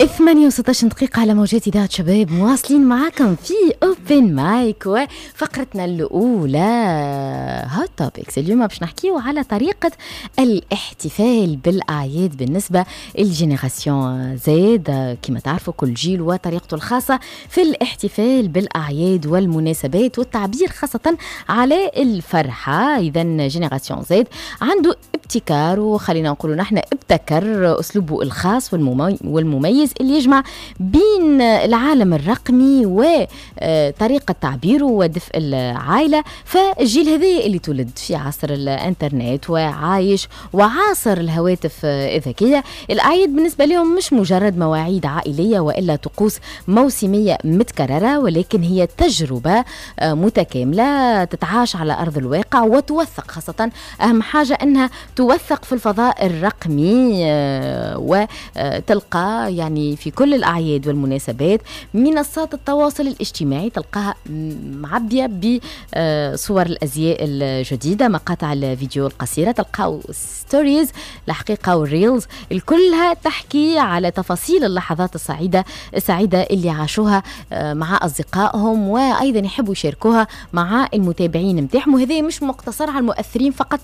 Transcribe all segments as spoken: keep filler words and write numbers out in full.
ثمانية وستة عشر دقيقة على موجات إذاعة شباب، مواصلين معاكم في open mic وفقرتنا الأولى hot topics. اليوم باش نحكيو على طريقة الاحتفال بالأعياد بالنسبة لل génération Z. كما تعرفوا، كل جيل وطريقته الخاصة في الاحتفال بالأعياد والمناسبات والتعبير خاصة على الفرحة. إذا génération Z عنده ابتكار، وخلينا نقولوا نحن ابتكر أسلوبه الخاص والمميز اللي يجمع بين العالم الرقمي وطريقة تعبيره ودفء العائلة. فالجيل هذا اللي تولد في عصر الانترنت وعايش وعاصر الهواتف الذكية، الأعياد بالنسبة لهم مش مجرد مواعيد عائلية وإلا طقوس موسمية متكررة، ولكن هي تجربة متكاملة تتعاش على أرض الواقع وتوثق، خاصة أهم حاجة أنها توثق في الفضاء الرقمي، وتلقى يعني في كل الأعياد والمناسبات منصات التواصل الاجتماعي تلقاها معبية بصور الأزياء الجديدة، مقاطع الفيديو القصيرة، تلقاو stories الحقيقة وال reels، الكلها تحكي على تفاصيل اللحظات السعيدة السعيدة اللي عاشوها آه، مع أصدقائهم، وأيضا يحبوا يشاركوها مع المتابعين نتاعهم. وهذا مش مقتصر على المؤثرين فقط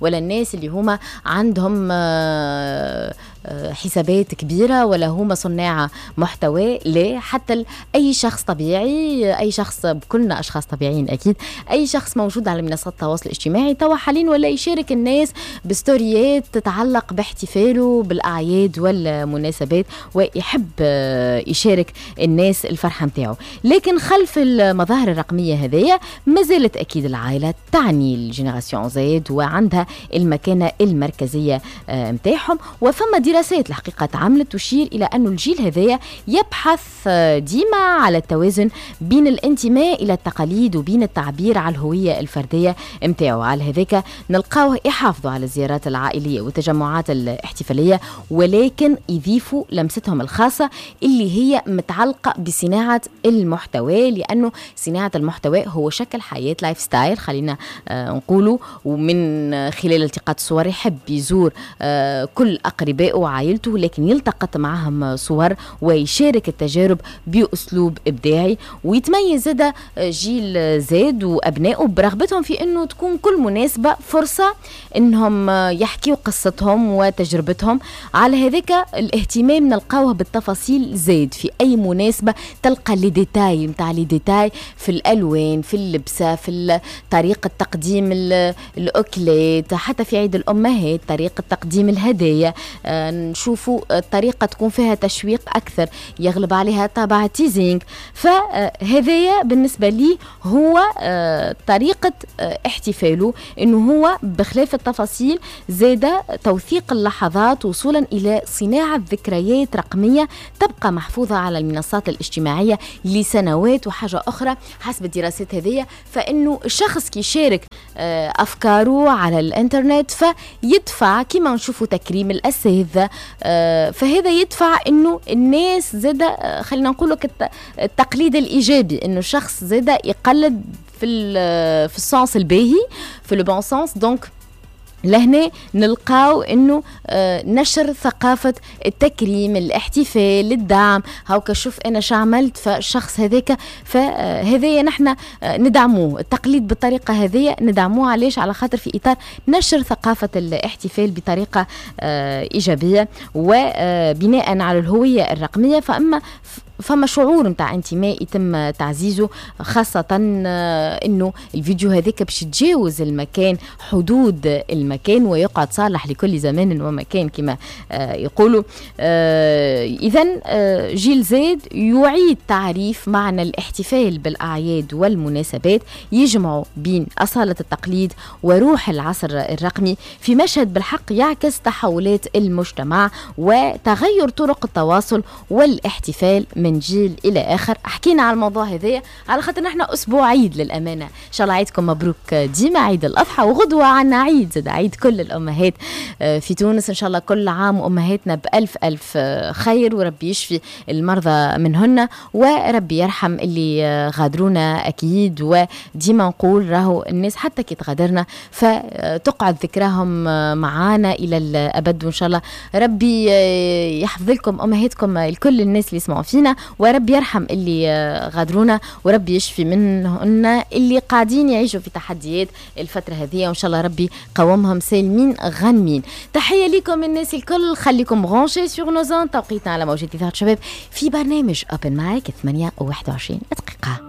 ولا الناس اللي هما عندهم آه، آه، حسابات كبيرة ولا هما صناع محتوى، لا، حتى أي شخص طبيعي، أي شخص، كلنا أشخاص طبيعيين أكيد، أي شخص موجود على منصات التواصل الاجتماعي توا حاليا ولا يشارك الناس بستوريات تتعلق باحتفاله بالأعياد والمناسبات ويحب آه، يشارك الناس الفرحة متاعه. لكن خلف المظاهر الرقمية هذيا ما زالت أكيد العائلة تعني ال génération Z وعندها المكانة المركزية متاعهم. وفما دراسات الحقيقة تعملت تشير إلى أن الجيل هذايا يبحث آه، ديما على التوازن بين الانتماء إلى التقاليد وبين التعبير على الهوية الفردية متاعه. على هذاك نلقاوه يحافظوا على الزيارات العائلية والتجمعات الاحتفالية، ولكن يضيفوا لمستهم الخاصة اللي هي متعلقة بصناعة المحتوى، لأنه صناعة المحتوى هو شكل حياة، lifestyle خلينا آه، نقولوا. ومن خلال التقاط الصور يحب يزور آه، كل أقربائه وعائلته، لكن يلتقط معهم صور ويشارك التجارب بأسلوب إبداعي. ويتميز زاد جيل زاد وأبنائه برغبتهم في أنه تكون كل مناسبة فرصة أنهم يحكيوا قصتهم وتجربتهم. على هذاك الاهتمام نلقاوه بالتفاصيل زاد، في أي مناسبة تلقى les détails نتاع les détails في الألوان، في اللبسة، في طريقة تقديم الأكلات، حتى في عيد الأمهات طريقة تقديم الهدايا آه، نشوفوا الطريقة تكون فيها تشويق أكثر، يغلب عليها طابع teasing. فهذايا بالنسبة لي هو آه، طريقة آه، احتفاله، انه هو بخلاف التفاصيل زاد توثيق اللحظات وصولا الى صناعة ذكريات رقمية تبقى محفوظة على المنصات الاجتماعية لسنوات. وحاجة أخرى، حسب الدراسات هذه، فإنه الشخص كي يشارك آه، أفكاره على الإنترنت فيدفع، كما نشوفوا تكريم الأساتذة، فهذا يدفع إنه الناس زاد آه، خلينا نقول التقليد الإيجابي، إنه الشخص زاد يقلد في في ال sens الباهي، في le bon sens. donc لهنا نلقاو انه آه، نشر ثقافة التكريم، الاحتفال، الدعم، هاوكا شوف انا شعملت، فالشخص هذاك فهذايا نحن آه، ندعموه، التقليد بالطريقة هذه ندعموه. علاش؟ على خاطر في اطار نشر ثقافة الاحتفال بطريقة آه، ايجابية وبناء على الهوية الرقميه، فاما فما شعور نتاع انتماء يتم تعزيزه، خاصة آه، انه الفيديو هذاك باش يتجاوز المكان، حدود المكان، ويقعد صالح لكل زمان ومكان كما آه، يقولوا. اذا آه، جيل زاد يعيد تعريف معنى الاحتفال بالاعياد والمناسبات، يجمع بين اصالة التقليد وروح العصر الرقمي في مشهد بالحق يعكس تحولات المجتمع وتغير طرق التواصل والاحتفال من من جيل الى اخر. حكينا على الموضوع هذايا على خاطر نحن اسبوع عيد للامانه، ان شاء الله عيدكم مبروك ديما، عيد الاضحى، وغدوه عنا عيد زاد، عيد كل الامهات آه، في تونس. ان شاء الله كل عام وامهاتنا بالف الف آه، خير، وربي يشفي المرضى منهن، وربي يرحم اللي آه، غادرونا اكيد. وديما نقول راهو الناس حتى كي تغادرنا فتقعد ذكراهم معانا الى الابد، وان شاء الله ربي يحفظ لكم امهاتكم، الكل الناس اللي يسمعوا فينا، وربي يرحم اللي غادرونا، وربي يشفي منهن اللي قاعدين يعيشوا في تحديات الفترة هذه، وان شاء الله ربي قومهم سالمين غانمين. تحية لكم الناس الكل، خليكم branchés sur nos ondes. توقيتنا على موجات اذاعة شباب في برنامج Open Mic ثمانية وواحد وعشرين دقيقه.